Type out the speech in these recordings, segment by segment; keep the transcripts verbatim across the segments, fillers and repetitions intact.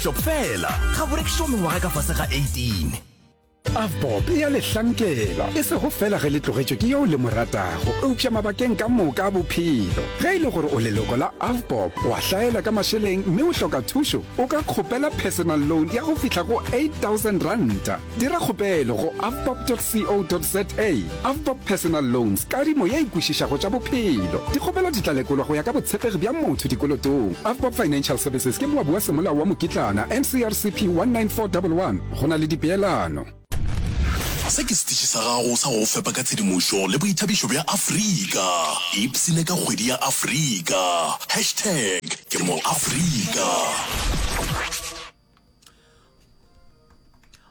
Shop fela ga bo rekišwa mengwaga ka fase ga eighteen. Avbob e a le hlankela, e sego feela ge le tlogetšwe ke yo le mo ratago, eupša mabakeng ka moka a bophelo. Ge e le gore o leloko la Avbob, wa hlaela ka mašeleng mme o hloka thušo, o ka kgopela personal loan ya go fihla go eight thousand ranta. Dira kgopelo go avbob dot co dot za. Avbob Personal Loans, kadimo ye e kwešišago tša bophelo. Dikgopelo di tla lekolwa go ya ka botshepegi bja motho dikolotong. Avbob Financial Services ke moabi wa semolao wa mokitlana, N C R C P one nine four double one. Go na le dipeelano. Se ke setiši sa gago sa go go fepa ka tshedimošo le boithabišo bja Afrika. Ipshine ka kgwedi ya Afrika. Hashtag ke mo Afrika.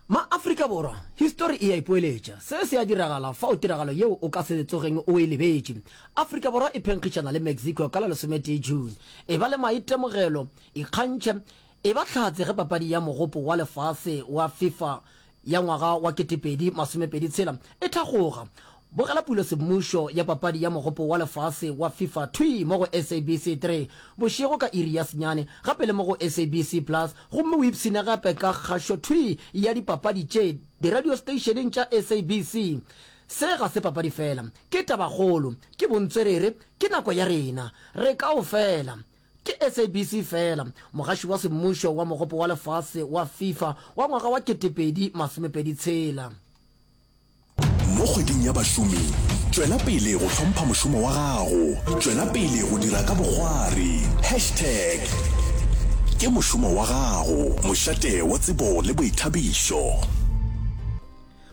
Ma-Afrika Borwa, histori e a ipoeletša. Se se a diragala fao tiragalo yeo o ka se tsogeng o e lebetše. Afrika Borwa e phenkgišana le Mexico ka la lesometee June. Eba le maitemogelo, ikgantšhe, eba hlatse ge papadi ya Mogopo wa Lefase wa FIFA ya ngwaga wa ketepedi masomepedi tshela e thakgoga. Bogela pulo semmušo ya papadi ya Mogopo wa Lefase wa FIFA thwii mo go S A B C three bošego ka iri ya senyane, gape le mo go S A B C Plus, gomme o ipshine gape ka kgašo thwii ya dipapadi tše diradiosteišeneng tša S A B C. Se ga se papadi fela, ke tabakgolo, ke bontswerere, ke nako ya rena. Re kaofela. Ke S A B C fela, mogaši wa semmušo wa Mogopo wa Lefase wa FIFA wa ngwaga wa ketepedi masomepedi tshela. Mo kgweding ya bašomi, tšwela pele go hlompha mošomo wa gago, tšwela pele go dira ka bokgwari. Hashtag ke mošomo wa gago, mošate wa tsebo le boithabišo.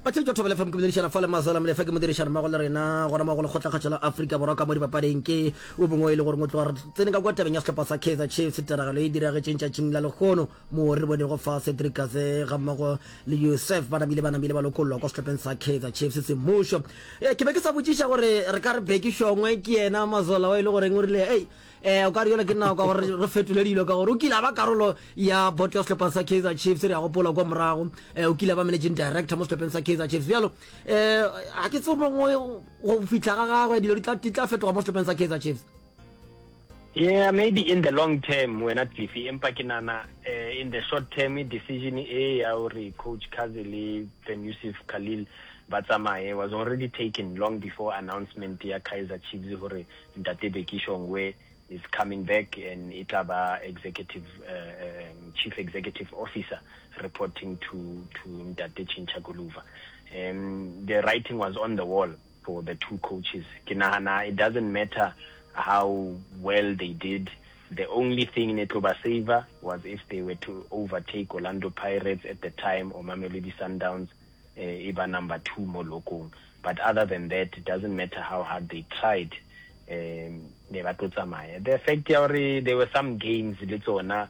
Batheetši ba Thobela F M, ke boledišana fa le Mazola Molefe, ke modirišanimmogo le rena gona mo go Lekgotlakgašo la Afrika Borwa ka mo dipapading. Ke o mongwe e le goreng o tloga re tsene ka kwa tabeng ya sehlopha sa Kaizer Chiefs, tiragalo e diragetšeng tšatšing la lehono moo re bonego fa Cedric Kaze gammogo le Youssef ba namile ba namile ba lokollwa kwa sehlopheng sa Kaizer Chiefs semmušo. Eh, ke be ke sa botšiša gore re ka re Bheki Shongwe ke yena Mazola wa e le goreng o rile ei eh o ka re yola ke nako ya gore re fetole dilo, ka gore o kile a ba karolo ya boto ya sehlopha sa Kaizer Chiefs. Re a gopola kwa morago eh o kile a ba managing director mo sehlopheng sa Kaizer Chiefs. Bjalo eh ga ke tsebe mongwe go fihla ga gagwe dilo di tla di tla fetoga mo sehlopheng sa Kaizer Chiefs. Yeah, maybe in the long term wena Cliffy, empa ke nana eh, in the short term decision e ya hore coach Kaze le Ben Youssef Khalil ba tsamaye was already taken long before announcement ya Kaizer Chiefs hore Ntate Bheki Shongwe is coming back and e tla ba executive uh, um, chief executive officer reporting to to Ntate Chincha Guluva. Um, the writing was on the wall for the two coaches. Ke nahana it doesn't matter how well they did. The only thing ne tlo ba saver was if they were to overtake Orlando Pirates at the time or Mamelodi Sundowns, eh, e ba number two mo lokong. But other than that, it doesn't matter how hard they tried, um ne ba tlo tsamaya. The fact ya hore there were some games le tsona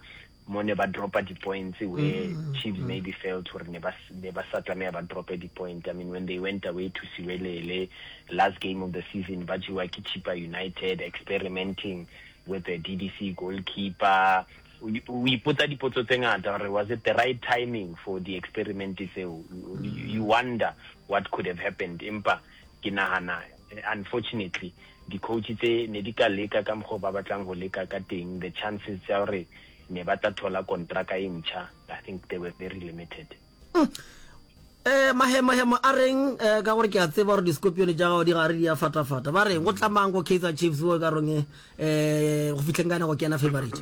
mo ne ba dropa di-points where mm, Chiefs mm. maybe felt hore ne ba ne ba sa tlameha ba drope di-point. I mean, when they went away to Siwelele last game of the season, ba jewa ke Chippa United, experimenting with the D D C goalkeeper, o ipotsa dipotso tse ngata hore was it the right timing for the experiment tseo. You wonder what could have happened, empa ke nahana unfortunately di-coach tse ne di ka leka ka mokgwa ba batlang ho leka ka teng, the chances tsa hore ne ba tla thola kontraka e ntjha, I think they were very limited. mm. eh mahemahema a reng eh, ka gore ke a tseba gore di-scorpion tša gago di gare di a fatafata, ba reng go tlamang go Kaizer Chiefs o ka reng eh go fitlheng ka go kena favorite?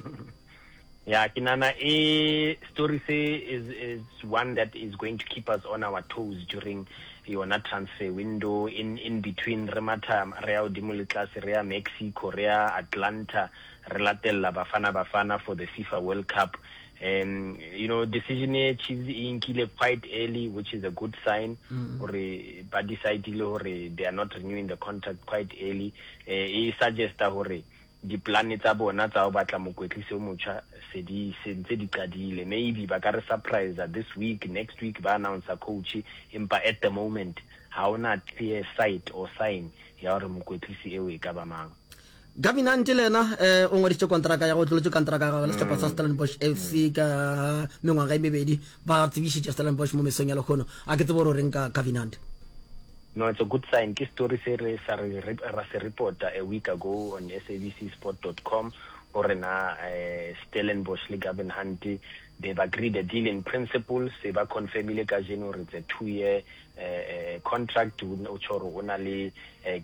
Yeah, ke nahana e story se is is one that is going to keep us on our toes during yona transfer window. in in between re matha re ya godimo le tlase, re ya Mexico, re ya Atlanta, re latella Bafana Bafana for the FIFA World Cup. um you know decision e Chiefs e nkile quite early, which is a good sign gore ba decidile hore they are not renewing the contract quite early. eh e suggesta hore diplane tsa bona tsa ho batla mokwetlisi o motjha se di se ntse di qadile. Maybe ba ka re surprise this week, next week ba announce coach, empa at the moment ha ona clear sight or sign ya hore mokwetlisi eo e ka ba mang. Gavin Hunt le yena eh, o ngwadišitše kontraka ya go tlolotše kontraka ya gagwe le sehlopha sa Stellenbosch F C ka mengwaga e mebedi. Ba tsebišitše Stellenbosch mo mesong ya lekgono. A ke tsebe gore o reng ka Gavin Hunt. No, it's a good sign. Ke story se re sa re ra se reporta a week ago on S A B C sport dot com hore na eh, Stellenbosch le Gavin Hunt They've agreed a deal in principle, se ba confirmile kajeno hore it's a two year contract, o tjho hore o na le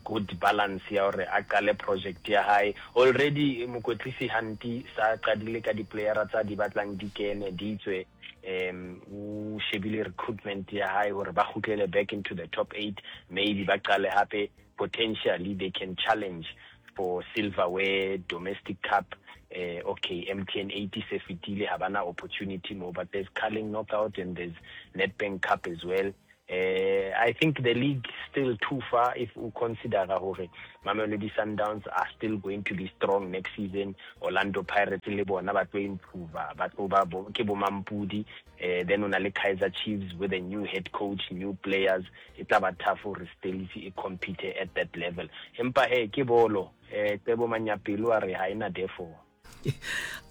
good balance ya hore a qale project ya hae. Already mokwetlisi Hanti sa qadile ka di-playera tsa di batlang di kene di tswe, um o shebile recruitment ya hae hore ba kgutlele back into the top eight, maybe ba qale hape, potentially they can challenge for silverware, domestic cup, eh, okay, M T N eight se fetile, ha bana opportunity mo, but there's Carling Knockout and there's Nedbank Cup as well. Eh, I think the league still too far if u consider hore Mamelodi Sundowns are still going to be strong next season. Orlando Pirates le bona ba tlo improve, ba tlo ba bo, ke bo Mampudi. Eh, then una le Kaizer Chiefs with a new head coach, new players. E tla ba tough hore Stellies e compete at that level. Empa he ke bolo, eh, Tsebo Manyapelo a re ha ena therefore.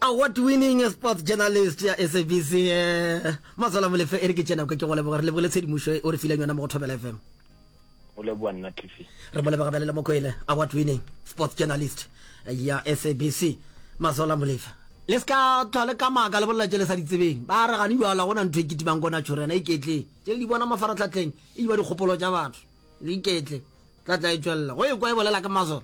Award winning sports journalist ya S A B C, eh, Mazola Molefe, e re ke tšena ke go leboga, re lebogile tshedimošo o re fileng yona mo go Thobela F M. O leboga nna Cliffy. Re mo leboga bjale le Mokwele, award winning sports journalist ya S A B C, Mazola Molefe. Le se ka tlhwa le ka maaka le bolela tše le sa di tsebeng. Ba re gane bjala gona ntho e kitimang kona tšhorena iketle. Tše le di bona mafaratlhatlheng e ba dikgopolo tša batho. Le iketle. Tla tla e tšwelela. Go e kwa e bolela ke Mazola.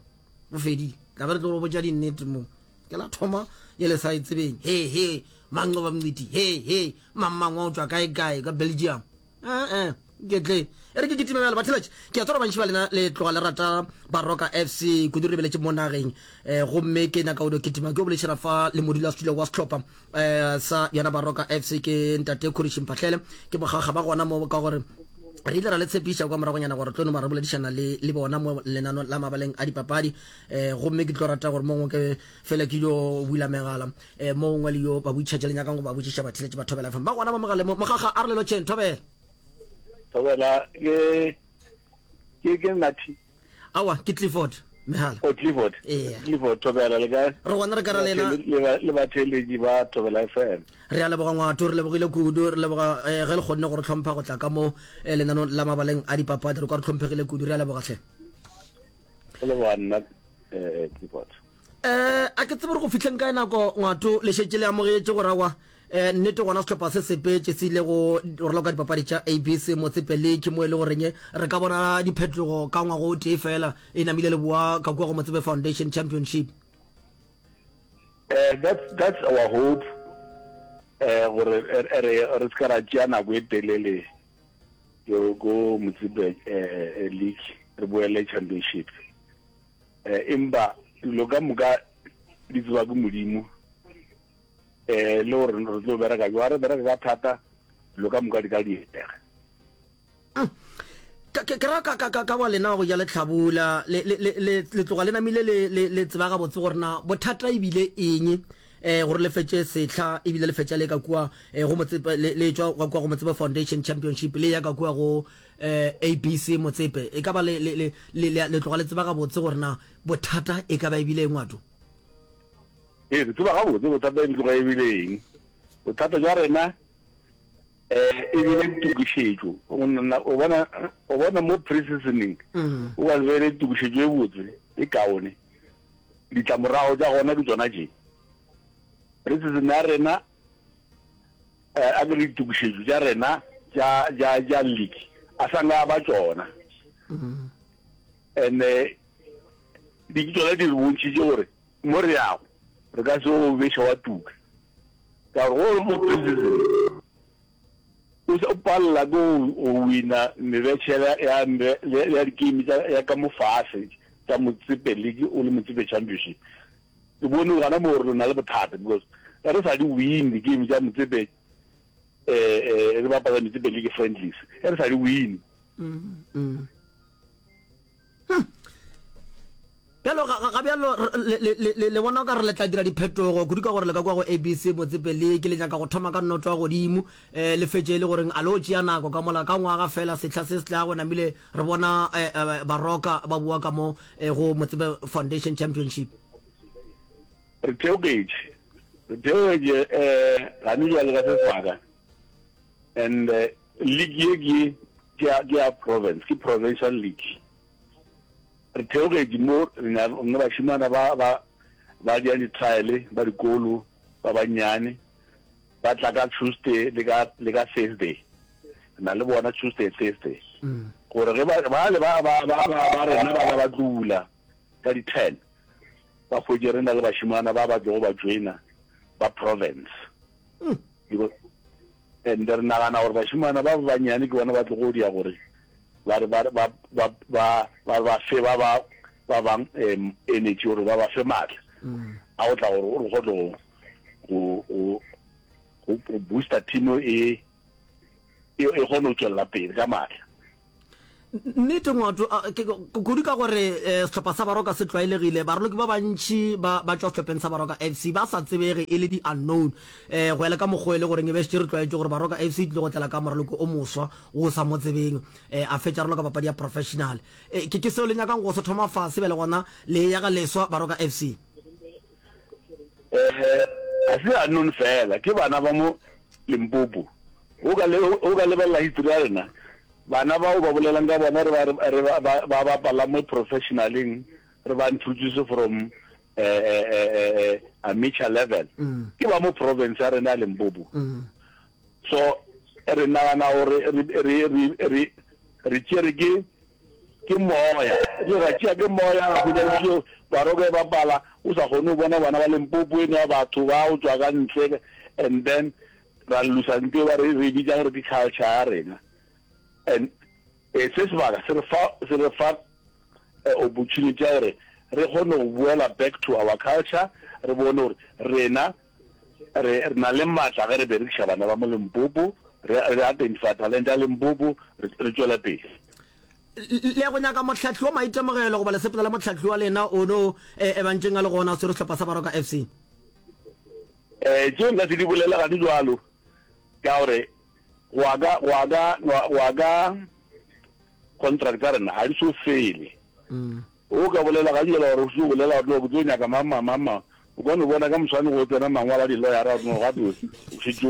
Go fedile. Tla be re tlo go botša dinnete mo. Ke la thoma ye le sa e tsebeng. He he, Manqoba Mngqithi. He he, mang mang wa o tšwa kae kae ka Belgium. Eh eh, iketle. E re ke kitime bjalo batheletše. Ke a tseba bantši ba lena le tloga le rata Baroka F C kudu re lebeletše mo nageng. Eh, gomme ke nyaka go no kitima ke o boledišana fa le modulasetulo wa sehlopha eh sa yona Baroka F C ke ntate Khoriši Mphahlele. Ke bogaga ba gona mo ka gore re ile ra le tshepiša kwa moragonyana gore tlo no ba re boledišana le le bona mo lenano la mabaleng a dipapadi. Eh, gomme ke tlo rata gore mongwe ke fela ke yo bula megala, eh, mo gongwe le yo ba boitšhatše le nyakang go ba botšiša batheletše ba Thobela F M. Ba gona mo mogaleng mo. Mogaga a re le lotšheng, Thobela. Thobela, ke, ke, ke Nathi. Aowa, ke Clifford Mehala. Oh, Clifford. Ee. Clifford, Thobela, le kae? Re gona re ka ra lena. Le, le batheeletši ba Thobela F M. Re a leboga ngwato, re lebogile kudu, re leboga eh, ge le kgonne go re hlompha go tla ka mo eh, lenanong la mabaleng a dipapadi, re kwa re hlomphegile kudu, re a leboga hle. Go leboga nna, eh, Clifford. Eh, a ke tsebe gore go fihleng kae nako ngwato le šetše le amogetše gore aowa, eh, nnete gona sehlopha se sepetše se ile go raloka dipapadi tša A B C Motsepe League mo e le goreng re ka bona diphetogo ka ngwago o tee fela e namile le boa ka kua go Motsepe Foundation Championship. Eh, that's, that's our hope, eh, gore re, re, re se ka ra tšea nako e telele go, go Motsepe, eh, League, re boele Championship. Eh, empa dilo ka moka di tseba ke Modimo, eh, le gore re tlo bereka jwang, re bereka ka thata, dilo ka moka di ka diega. Mm. Ka, ke, ke ra ka, ka, ka, ka wa lena wa go ja lehlabula, le, le, le, le, le tloga le namile le, le, le tseba gabotse gore na bothata ebile eng, eh, gore le fetše sehla, ebile le fetša le ka kua, eh, go Motsepe, le, le tšwa ka kua go Motsepe Foundation Championship, le ya ka kua go, eh, A B C Motsepe. E ka ba le, le, le, le, le, le tloga le tseba gabotse gore na bothata e ka ba ebile eng ngwato? Ee, re tseba gabotse bothata e tloga ebile eng. Bothata jwa rena, eh, e bile tokišetšo. O nna, o bona, o bona mo pre-seasoning, o ka se be le tokišetšo e botse, e kaone. Ditlamorago tša gona ke tšona tše. Pre-season ya rena, eh, a ke re ditokišetšo tša rena tša, tša, tša league, a sa nka ba tšona. And, eh, di tšona di re bontšhitše gore mo re yago re ka se o beša wa tuka. Ka gore go mo pre-season o se o palela ke go, go wina mebetšhela ya, ya, ya di-game tša, ya ka mo fase tša Motsepe League o le Motsepe Championship. Ke bone gona mo gore re na le bothata because re sa di win di-game tša Motsepe, eh, eh, re bapala Motsepe League friendlies, re sa di win. Mm, mm. Hmm. Bjalo, ga, ga, ga bjalo, re, le, le, le, le, le bona o ka re le tla dira diphetogo kudu ka gore le ka kua go A B C Motsepe League, le nyaka go thoma ka noto ya godimo, eh, le fetše e le goreng a lo tšea nako ka mola ka ngwaga fela sehla se se tlago namile re bona, eh, eh, Baroka ba boa ka mo, eh, go Motsepe Foundation Championship. Re theogetše, re theogetše, eh, gane bjale ka se sebaka, and, eh, league ye ke, ke ya, ke ya province, ke provincial league. Re theogetše mo, re na le bašemana ba, ba, ba dira di-trial ba dikolo ba bannyane, Ba tla ka Tuesday le ka le ka Thursday. Re na le bona Tuesday Thursday. Gore ge ba bale ba ba ba ba ba rena ba ba ba tlo ka di ten ba hwetše re na le bašimana ba ba tlogo ba joina ba province. Because and re nagana gore bašimana ba ba bannyane ke bona ba tlogo dia gore ba re ba ba ba ba ba ba fe ba ba ba bang energy gore ba ba fe maatla a go tla gore re kgone go go go go booster team e e e kgone go tswelela pele ka maatla. Nnete Ngwato, kudu ka gore sehlopha sa Baroka se tlwaelegile, baraloki ba bantši ba ba tšwa sehlopheng sa Baroka F C ba sa tsebege e le di-unknown. Go ya le ka mokgwa e le goreng e be šetše re tlwaetše gore Baroka F C e tlile go tlela ka moraloki o moswa wo o sa mo tsebeng, a fetša a raloka papadi ya professional. Ke ke seo le nyakang go se thoma fase bjale gona le e yaga leswa Baroka F C? Ga se unknown fela, ke bana ba mo Limpopo. O ka o ka lebelela history ya rena, bana bao ba bolelang ka bona re ba re ba ba bapala mo professionaleng, re ba introduce from amateur level, ke ba mo province ya rena ya Limpopo. So re nagana gore re re re re tšere ke ke moya, re ra tšea ke moya ra hwetša Baroka e bapala o sa kgone go bona bana ba Limpopo e no batho ba go tšwa ka ntle, and then ra losa ntho ba re re bitsa gore ke culture ya rena. And se sebaka se re fa se re fa opportunity ya gore re kgone go boela back to our culture, re bone gore rena re re na le maatla ge re berekiša bana ba mo Limpopo, re re identify talent ya Limpopo, re tšwele pele. Le go nyaka mohlahli wa maitemogelo goba le sepela le mohlahli wa lena o no e bantšeng a le gona swere sehlopha sa Baroka F C? Eh tšeo nka se di bolela ga di jwalo, ka gore go ya ka go ya ka go ya ka contract tsa rena ga di so fele. O ka bolela ga jela gore o se bolela gore no ke tlo nyaka mang mang mang mang, o ka no bona ka moswane go tsena mangwalo a di-lawyer no gape o šetše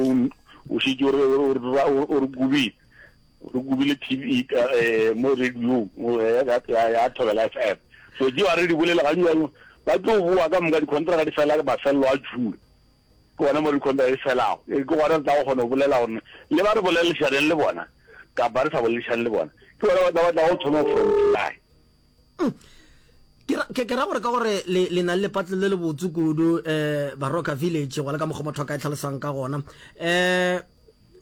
o šetše o re kubile re kubile T V mo radio ya Thobela F M. So tšeo a re di bolela ga jalo, ba tlo boa ka moka di-contract di fela mafelelo a June, ke gona mo di-contract di felago, ke gona re tla go kgona go bolela gore le ba re boledišaneng le bona kapa re sa boledišane le bona, ke bona ba tla ba tla go thoma from July. Ke ke ra gore ka gore le le na le lepatlelo le le botse kudu um Baroka Village, go le ka mokgwa motho a ka e tlhalosang ka gona, um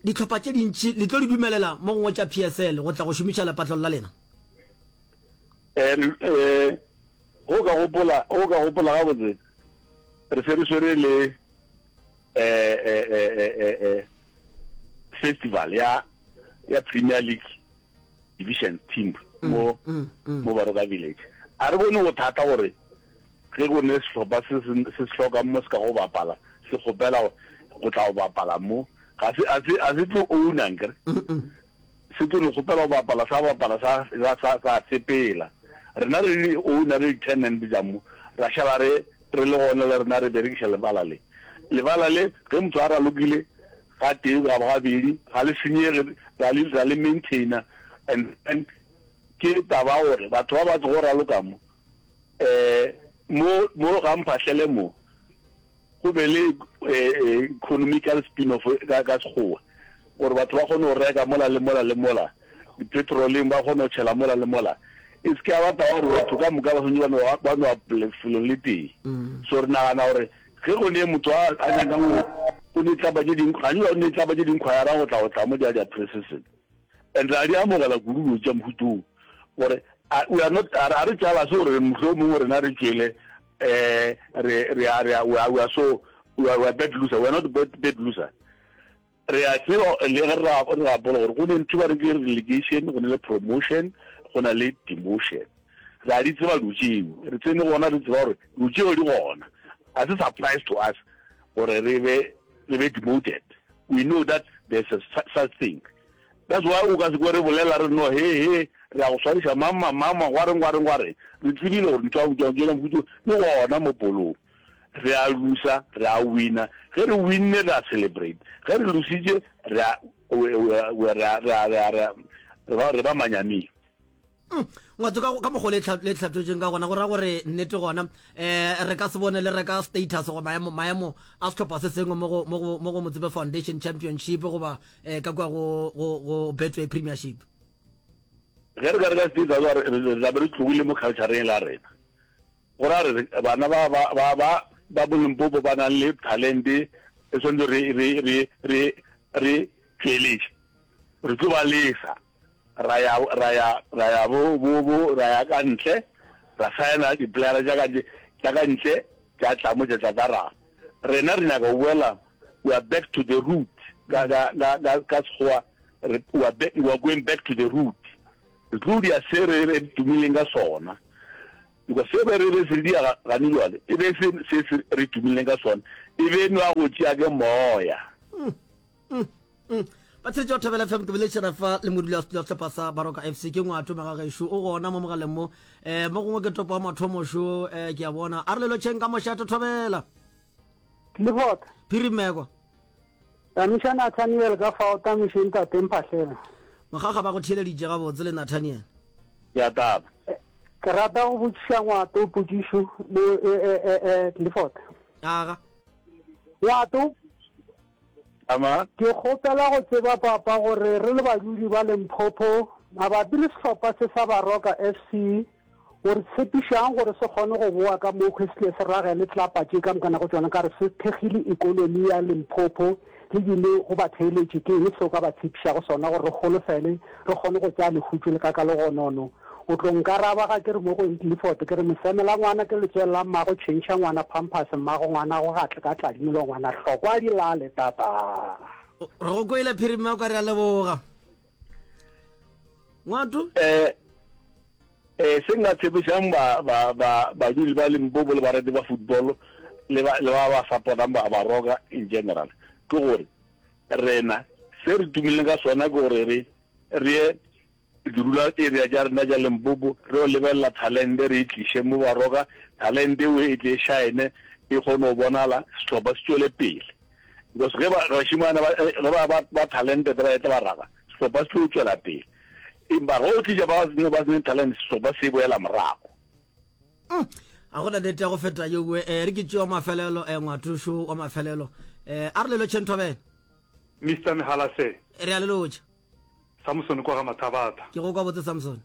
ditlhopha tše dintši le tlo di dumelela mo gongwe tša P S L go tla go šomiša lepatlelo la lena? um go ka gopola go ka gopola gabotse, re se re swere le um festival ya ya Premier League division team mo mo Baroka Village. A re bone bothata gore ge go ne sehlopha se se se hlokang mo se ka go bapala, se kgopela go tla go bapala mo, ga se a se a se tlo owna nkere, se tlo no kgopela go bapala, sa bapala, sa sa sa sepela. Rena re le owner, re di-tenant tša mo, ra šala re re le gona le rena re berekiša lebala le lebala le ge motho a ralokile ga tee ga gabedi ga le senyege, ra le ra le maintainer. And then ke taba gore batho ba ba tlogo raloka mo um mo mo ga Mphahlele mo go be le economical spin off ka ka Sekgowa, gore batho ba kgone go reka mola le mola le mola dipetroleng, ba kgone go tšhela mola le mola, e se ke ya ba taba gore batho ka moka ba swanetše ba no ba no lefelong le tee. So re nagana gore ge go ne motho a a nyakang go o ne tlapa tše dingwe gantsi o ne tlapa tše dingwe khwayara go tla go tla mo di a di pre-season, and re a di amogela kudu dilo tša mohutong gore we are not a re jealous gore mohlomongwe rena re tšwele eh re re a re we are we are so we are, we are bad loser. We are not bad, bad loser. Re a tseba le ge re re gapola gore go ne ntho ba re ke relegation, go ne le promotion, go na le demotion. Re a di tseba dilo tšeo, re tsene gona re tseba gore dilo tšeo di gona. Ga se surprise to us gore re be re be demoted. We know that there's a such thing. That's why o ka se kwe re bolela re no he he re ya go swariša mama mama gwareng gwareng gwareng. Re tsebile gore ntho ya tšela mohuto di gona mo polong. Re a losa, re a wina. Ge re winne re a celebrate, ge re lositše re a re ba manyaming. Mm, Ngwatso ka ka mokgwa le le tlhatotšeng ka gona go ra gore nnete gona um re ka se bone le reka status go maemo maemo a sehlopha se sengwe mo go mo go mo go Motsepe Foundation Championship goba um ka kua go go go Betway Premiership. Ge re ka reka status re re tla be re tlogile mo cultureng la rena. Go ra re bana ba ba ba ba ba bo Limpopo ba nang le talente e tshwanetse re re re re re tšweletše. Re tlo ba lesa ra ya ra ya ra ya bo bo bo ra ya ka ntle ra saena di-playera tša ka tša ka ntle tša tla mo tša tla tla ra rena re nyaka go boela we are back to the root ka ka ka ka ka Sekgowa re we are back we are going back to the root re tlo dia se re re tumileng ka sona because se be re be se dia gane jwale e be se se se re tumileng ka sona e be nwa go tšea ke moya. Mm, mm, mm. Batheletši ba Thobela F M, ke boledišana fa le modulasetulo wa sehlopha sa Baroka F C, ke Ngwato Magagešo, o gona mo mogaleng mo. Eh, mo gongwe ke topo wa mathomo šo, eh, ke a bona. A re le lotšheng ka mošate Thobela. Clifford. Phiri Mmeko. Tamiša Nathaniel ka fao, tamiše ntate Mphahlele. Mokgakga ba go theeleditše gabotse le Nathaniel. Ke a taba. Ke rata go botšiša Ngwato potšišo le, eh, eh, eh, eh, Clifford. Aga. Ngwato. Ama. Ke kgopela go tseba papa gore re le badudi ba Limpopo mabapi le sehlopha se sa Baroka F C o re tshepišang gore se kgone go boa ka mokhwi se tle se ragele tlelapa tše ka mokana go tšona ka re se thekgile ekonomi ya Limpopo le bile go batheeletši ke eng se o ka ba tshepišago sona gore re holofele re kgone go tšea lehutšo le ka ka legonono o tlo nkaraba ga ke re mo go Clifford ke re mosemela ngwana ke letswele la mmago tšhentšha ngwana pampers mmago ngwana go gatle ka tladimelo ngwana hlokwa di lale tata. Re go kwele Phirima o ka re a leboga. Ngwato? Eh eh se nka tshepišang ba ba ba badudi ba Limpopo le barati ba football le ba le ba ba supportang ba Baroka in general ke gore rena se re tumileng ka sona ke gore re re ye di-rural area tša rena tša Limpopo re yo lebelela talente re e tliše mo Baroka talente eo e tle e shine e kgone go bonala sehlopha se tšwele pele because ge ba bašemane ba ge ba ba ba talented ba etla ba raga sehlopha se tlo tšwela pele empa ge o tliša ba ba seneng talent sehlopha se boela morago. Mm. A gona nnete ya go feta yeo eh re ke tšeo mafelelo eh ngwatošo wa mafelelo eh a re le lotšheng Thobela. Mister Mehalase. Re a le lotša. Samson kwa ga Mathabatha. Ke go kwa botse Samson.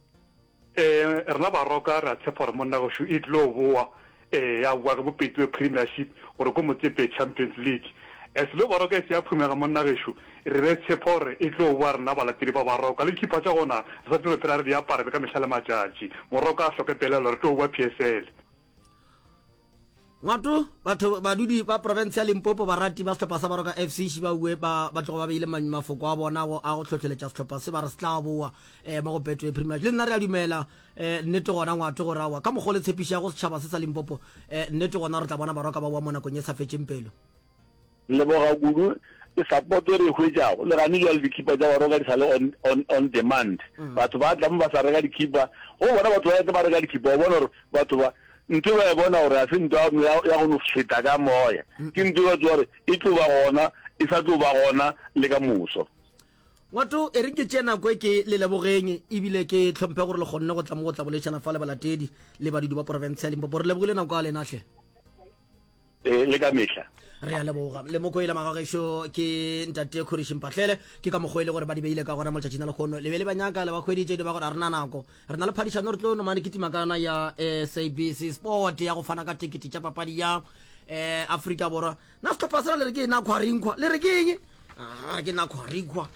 Eh rena Baroka re a tshepa gore monna gešo e tlo boa eh ya boa ge bo Betway Premiership gore ko Motsepe Champions League. As lo Baroka e se ya phumega monna gešo re be tshepa gore e tlo boa rena balatedi ba Baroka le dikhipha tša gona re sa tlo phela re di apara be ka mehla le matšatši. Moroka a hloke pelaelo re tlo boa P S L. Ngwato, batho badudi ba profense ya Limpopo barati ba sehlopha sa Baroka F C Šibaue ba ba tlogo ba beile mafoko a bona go a go hlohleletša sehlopha se ba re se tla boa eh, mo go Betway Premiership. Le nna re a dumela eh, nnete gona Ngwato gore aowa ka mokgwa o le tshepišago setšhaba se sa Limpopo eh, nnete gona re tla bona Baroka ba boa mo nakong e sa fetšeng pelo. Leboga kudu ke support e re e hwetšago le gane jwale dikhipa tša Baroka di sa le on, on, on demand. Batho ba tla mo ba sa reka dikhipa go bona batho ba etla ba reka dikhipa o bona gore batho ba ntho ba e bona gore ga se ntho ya go no feta ka moya ke ntho ba tseba gore e tlo ba gona e sa tlo ba gona le ka moso. Ngwato e re ke tšee nako e ke le lebogeng ebile ke tlhomphe gore le kgonne go tla mo go tla boledišana fa le balatedi le badudi ba porofense ya Limpopo. Re lebogile nako ya lena hle. E le ka mehla. Re a leboga. Le moko ile magagešo ke ntate Khoriši Mpahlele. Ke ka mokgwa e le gore ba di beile ka gona mo letšatšing la lehono. Le be le ba nyaka le ba hweditše di ba gore a re na nako. Re na le phadišano re tlo no mane kitima ka yona ya S A B C Sport ya go fana ka tekete tša papadi ya eh Afrika Borwa. Na sehlopha sela le re ke Nakhwarinkhwa? Le re ke eng? Ah, ke Nakhwarinkhwa.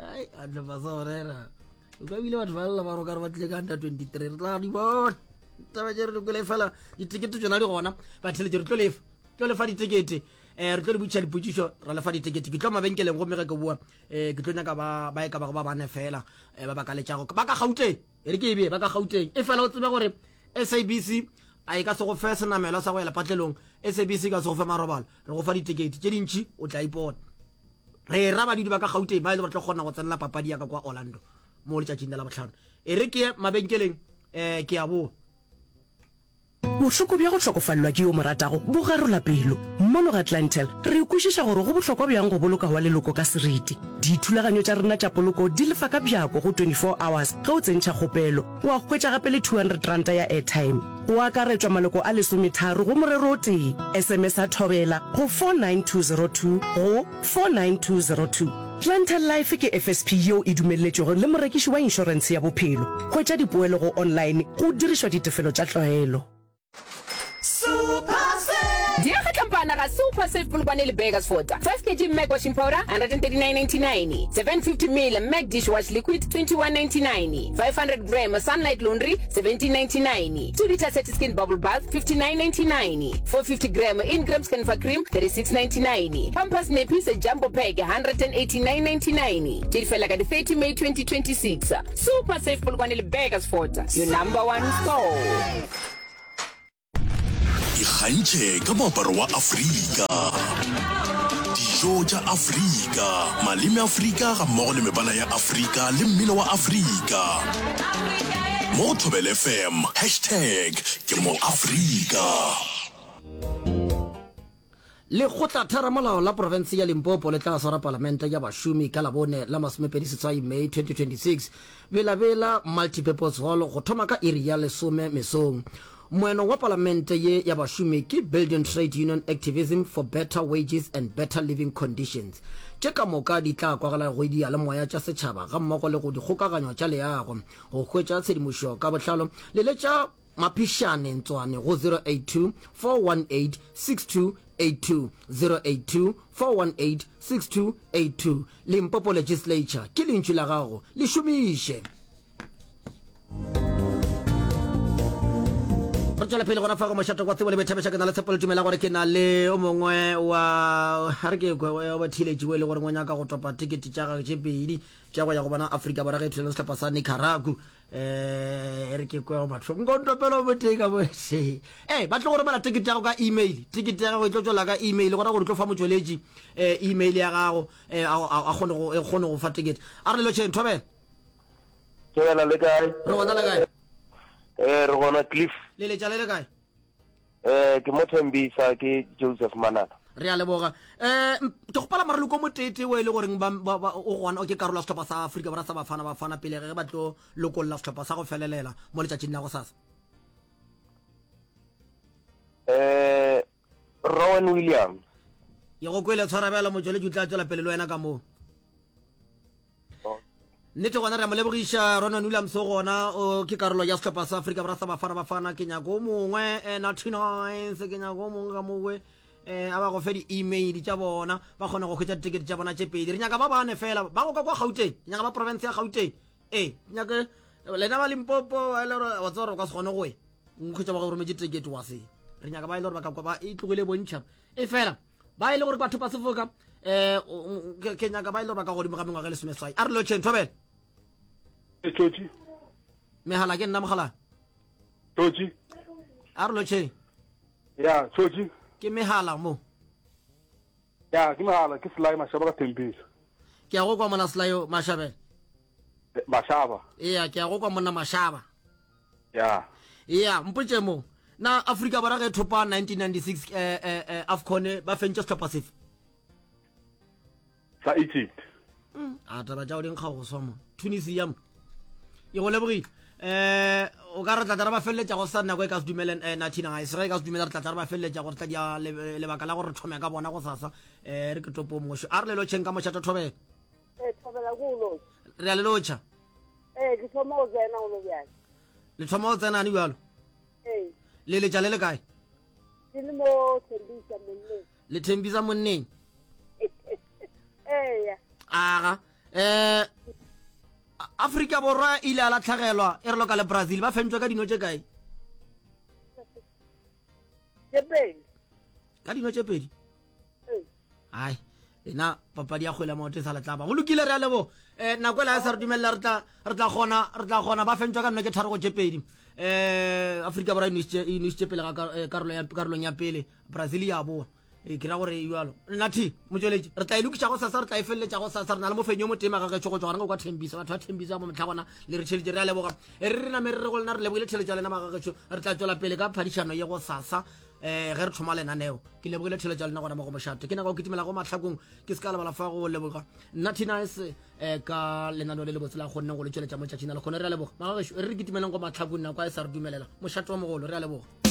Ai, a tlhopa sa go rera. O ka bile batho ba lla ba re o ka re ba tlile ka under twenty-three. Re tla di bona. Taba tše re di kwele fela ditekete tšona di gona. Batheletši re tlo lefa. Tlo lefa ditekete. Eh, re tlo le botšiša dipotšišo, ra lefa ditekete. Ke tlo mabenkeleng gomme ge ke boa, eh, ke tlo nyaka ba, ba e ka bago ba bane fela, eh, ba ba ka letšago. Ba ka Gauteng. E re ke e bee, ba ka Gauteng. E fela o tsebe gore S A B C a e ka se go fe senamelwa sa go ya lepatlelong. S A B C e ka se go fe marobalo. Re go fa ditekete tše dintši, o tla ipona. Re ra badudi ba ka Gauteng ba e le gore tlo kgona go tsenela papadi ya ka kwa Orlando mo letšatšing la Labohlano. E re ke ye mabenkeleng, eh, ke a boa. Bohloko bja go hlokofalelwa ke yo o mo ratago bo garola pelo. Mono ga Clientele, re kwešiša gore go bohlokwa bjang go boloka wa leloko ka seriti. Dithulaganyo tša rena tša poloko di lefa ka bjako go twenty four hours ge o tsentšha kgopelo, wa hwetša gape le two hundred ranta ya airtime. Go akaretšwa maloko a lesometharo go morero o tee. S M S-a Thobela go four nine two zero two go four nine two zero two. Clientele Life ke F S P yeo e dumelletšwego le morekiši wa inšorentshe ya bophelo. Hwetša dipoelo go online go dirišwa ditefelo tša tlwaelo. Diega tlampana ga Super Save Polokwane le Burgersfort. five kg Mac washing powder one hundred thirty-nine ninety-nine, seven hundred fifty milliliters Mac dishwash liquid twenty-one ninety-nine, five hundred gram Sunlight laundry seventeen ninety-nine, two liter Skin bubble bath fifty-nine ninety-nine, four hundred fifty gram Ingram Scanfa cream thirty-six ninety-nine, Pampers nappies jumbo pack one eighty-nine ninety-nine. Tše di fela ka di thirty May twenty twenty-six. Super Save Polokwane le Burgersfort, your number one store. Ikgantšhe ka moaparo wa Afrika, dijo tša Afrika, maleme Afrika gammogo le mebala ya Afrika le mmino wa Afrika. Mo go Thobela F M, hashtag ke mo Afrika. Lekgotlatheramolao la profense ya Limpopo le tla swara palamente ya bašomi ka Labone la masomepedi seswai May twenty twenty-six Belabela Multipurpose Hall go thoma ka iri ya lesome mesong. Moeno wa palamente ye ya bašomi ke Building Trade Union Activism for Better Wages and Better Living Conditions. Tše ka moka di tla kwagala go diyalemoya tša setšhaba gammogo le go dikgokaganyo tša leago. Go hwetša tshedimošo ka botlalo leletša Maphišane Ntswane go zero eight two, four one eight, six two eight two, zero eight two, four one eight, six two eight two. Limpopo Legislature ke lentšu la gago, le šomiše. Re tšwela pele gona fa go mošate wa tsebo le boithabišo. Ke na le tshepo le tumela gore ke na le o mongwe wa ga re ke kwe wa batheeletši o e le goreng o nyaka go topa tekete tša gagwe tše pedi tša go ya go bona Afrika Borwa ge e thulana le sehlopha sa Nicaragua. um e re ke kwe go batho nko ntopela o motee ka mo se ee ba tlo go romela tekete ya gago ka email. Tekete ya gago e tlo tšwela ka email, gona gore o tlo fa motšweletši um email ya gago um a kgone go e kgone go fa tekete. A re lelotšheng, thobela. Thobela, le kae? Re gona, le kae? Eh, re gona, Cliff. Le letša le le kae? Eh, ke mo Thembisa, ke Joseph Manana. Re a leboga. um ke gopela mareloko moteetee o e le goreng ba- ba- ba- o gona o ke karolo ya sehlopha sa Afrika Borwa sa Bafana Bafana pele ge ba tlo lokolla sehlopha sa go felelela mo letšatšing la go sasa. Eh, Rowan Williams. Ye go kwele, tshwarabela motšweletši o tla tswela pele le wena ka moo. Nnete gona re a mo lebogiša Ronan Williams, o gona o ke karolo ya sehlopha sa Afrika Borwa sa Bafana Bafana. Ke nyako o mongwe eh, Natty Nines, ke nyako o mongwe ka mowe eh, a ba go fe di-email tša bona ba kgone go hwetša ditekete tša bona tše pedi. Re nyaka ba bane fela ba go ka kwa Gauteng, ke nyaka ba province ya Gauteng. Ee, ke nyake lena ba Limpopo e le gore wa tseba gore o ka se kgone go e nkhwetša ba go rometše tekete wa se. Re nyaka ba e le gore ba ka kwa ba e tlogile bontšha e fela ba e le gore batho ba sefoka um ke nyaka ba e le gore ba ka godimo ga mengwaga e lesomeswai. A re lotšheng, thobela. Tšotši. Megala ke nna mogala. Tšotši. A re lotšheng. Ya, Tšotši. Ke megala mo. Ya, ke megala, ke Selai Mashaba ka Thembisa. Ke a go kwa mona Selai Mashabela. Mashaba. Eya, ke a go kwa monna Mashaba. Ya. Eya, mpotše mo na Afrika Borwa ge thopa nineteen ninety-six eh, eh, eh, AFCON ba fentše sehlopha sefe? Sa Egypt. A taba tša go dinkga go swa mo Tunisia mo e go lebogile. um o ka re tlatla re ba feleletša go sa nako e ka se dumele um nathina ga e se ge e ka se dumele re tlatla re ba feleletša gore tla dia lebaka la gore re thome ka bona go sasa. um re ke topo mošo. A re lelotšheng ka mošata, thobela. Ee, thobela ko o lotšha. Re a le lotšha. Ee, ke thoma go tsena golo bjale. Le thoma go tsenane bjalo? Ee. Le letša le le kae? Ke le mo Thembisa monneng. Le Thembisa monneng? Eya. Aga um Afrika Borwa ile a latlhagelwa e re loka le Brazil, ba fentšwe ka dino tše kae? Tše pedi. Ka dino tše pedi? Ee. Ai lena papadi ya kgwele ya maoto e sa letlaba. Go lokile, re a lebo. um nako ela ya sa re dumelela, re tla re tla kgona re tla kgona. Ba fentšwa ka nno ke tharo go tše pedi. um Afrika Borwa e nwešitše e nwešitše pele ga karolo ya karolong ya pele, Brazil ya boa. Ee, ke ra gore e bjalo. Nathi, motšweletši, re tla e lokiša go sasa, re tla e feleletša go sasa. Re na le mofenyi yo motee magagešo go tšwa gona go kwa Thembisa. Batho ba Thembisa ba mohla gona le re tšheletše, re a leboga. E re re name re re go lena re lebogile tšheletšo ya lena magagešo. Re tla tšwela pele ka phadišano ye go sasa um ge re thoma lenaneo. Ke lebogile tšheletšo ya lena gona mo go mošate. Ke nyaka go kitimela go mahlakong, ke se ka lebala fa go leboga Nathi Nice um ka lenaneo le lebotse la kgonneng go le tšweletša mo tšatšing la lekgono. Re a leboga magagešo. E re re kitimeleng go mahlakong, nako a e sa re dumelela. Mošate wa mogolo, re a leboga.